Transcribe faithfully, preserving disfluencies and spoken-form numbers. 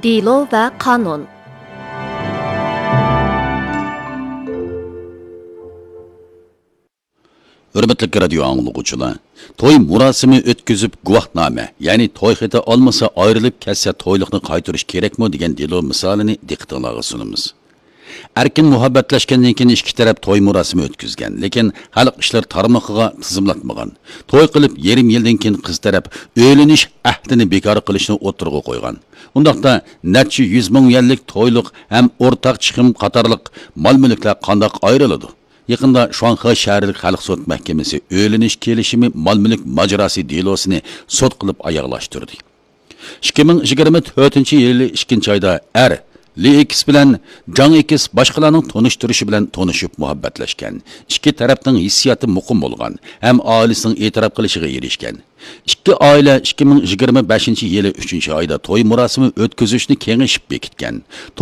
دېلو ۋە قانۇن. ھۆرمەتلىك رادىيو ئاڭلىغۇچىلار، توي مۇراسىمى ئۆتكۈزۈپ گۇۋاھنامە، يەنى توي خېتى ئالمىسا ئايرىلىپ كەتسە تويلۇقنى قايتۇرۇش كېرەكمۇ دېگەن دېلو مىسالىنى دىققىتىڭلارغا سۇنىمىز. ئەركىن مۇھەببەتلەشكەندىن كېيىن ئىككى تەرەپ توي مۇراسىمى ئۆتكۈزگەن، لېكىن خەلق ئىشلىرى تارمىقىغا تىزىملاتمىغان. توي قىلىپ يېرىم يىلدىن كېيىن قىز تەرەپ ئۆيلىنىش ئەھدىنى بىكار قىلىشنى ئوتتۇرىغا قويغان. ئۇنداقتا نەچچە يۈز مىڭ يۈەنلىك تويلۇق ھەم ئورتاق چىقىم قاتارلىق مال-مۈلۈكلەر قانداق ئايرىلىدۇ؟ يېقىندا شۇاڭخې شەھەرلىك خەلق سوت مەھكىمىسى ئۆيلىنىش كېلىشىمى مال-مۈلۈك ماجىراسى دېلوسىنى سوت قىلىپ ئاياغلاشتۇردى. ئىككى مىڭ يىگىرمە تۆتىنچى يىلى ئىككىنچى ئايدا ئەر لى ئېكس بىلەن جاڭ ئېكس باشقىلارنىڭ تونۇشتۇرۇشى بىلەن تونۇشۇپ مۇھەببەتلەشكەن. ئىككى تەرەپنىڭ ھېسسىياتى مۇقىم بولغان ھەم ئائىلىسىنىڭ ئېتىراپ قىلىشىغا ئېرىشكەن. ئىككى ئائىلە ئىككى مىڭ يىگىرمە بەشىنچى يىلى ئۈچىنچى ئايدا توي مۇراسىمى ئۆتكۈزۈشنى كېڭىشىپ بېكىتكەن.